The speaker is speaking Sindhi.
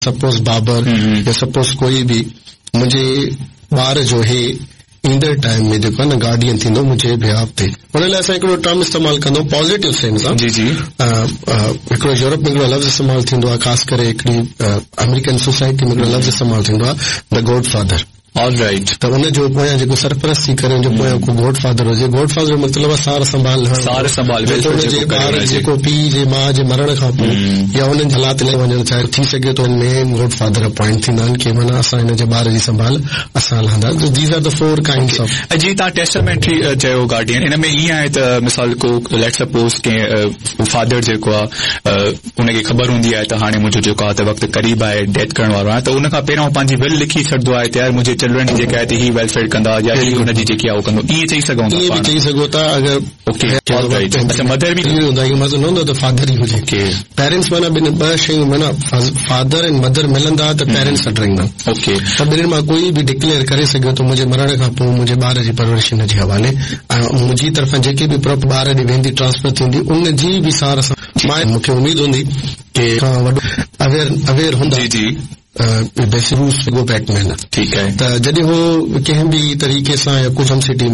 سپوز بابر يا سپوز ڪوئي به منهنجي ٻار جو هي ايندڙ ٽائيم ۾ جيڪو آهي نه گارڊين ٿيندو منهنجي بيهاف تي ان لاء اسان هڪڙو ٽرم استعمال ڪندو پازيٽو سينس سان جي جي هڪڙو يورپ ۾ هڪڙو لفظ استعمال ٿيندو آهي خاص ڪري هڪڙي آمريڪن سوسائٽي ۾ هڪڙو لفظ استعمال ٿيندو آهي the God father all right ته ان جو پويان جيڪو سرپرستي ڪري ان جو پويان ڪو گاڊ فادر هجي گاڊ فادر جو مطلب آهي سار سنڀال لهڻ سار سنڀال ويلفيئر جي ٻار جيڪو پيء جي ماء جي مرڻ کان پوء يا انهن جي حالات لاء وڃڻ چاهي ٿي سگهي ٿو مين گاڊ فادر اپوائنٽ ٿيندا آهن ڪي معنيٰ اسان هن جي ٻار جي سنڀال اسان لهندا ته these are the four kinds of. ۽ جي توهان ٽيسٽامينٽري چيو گارڊين ان ۾ ائين آهي ته مثال ڪو ليٽ سپوز ڪنهن فادر جيڪو آهي ان کي خبر هوندي آهي ته هاڻي منهنجو جيڪو آهي ته وقت قريب آهي ڊيٿ ڪرڻ وارو آهيان ته ان کان پهريان هو پنهنجي ول لکي ڇڏندو آهي ته يار منهنجي چلڊرن جي جيڪا آهي ته هي ويلفيئر ڪندا يا هي ان جي جيڪي آهي اهو ڪندو ائين چئي سگهون ٿا ائين به پاڻ چئي سگهو ٿا اگر اوڪي آل رائيٽ اڇا مدر به هوندا اهو مطلب نه هوندو ته فادر ئي هجي اوڪي پيرنٽس معنيٰ ٻن ٻه شيون معنيٰ فادر ۽ مدر ملندا ته پيرنٽس سڏرائيندا اوڪي ته ٻنهين مان ڪوئي به ڊڪليئر ڪري سگهيو ٿو منهنجي مرڻ کان پوء منهنجي ٻار جي پرورش هن جي حوالي ۽ منهنجي طرفان جيڪي به پراپرٽي ٻار ڏي ويندي ٽرانسفر ٿيندي ان جي به سار سنڀال مون کي اميد هوندي ڪي کان وڏو اويئر اويئر هوندا جي جي بيسروس گو بيڪ مين ٺيڪ آهي ته جڏهن هو ڪنهن به طريقي سان يا ڪجهه هم سٽي ۾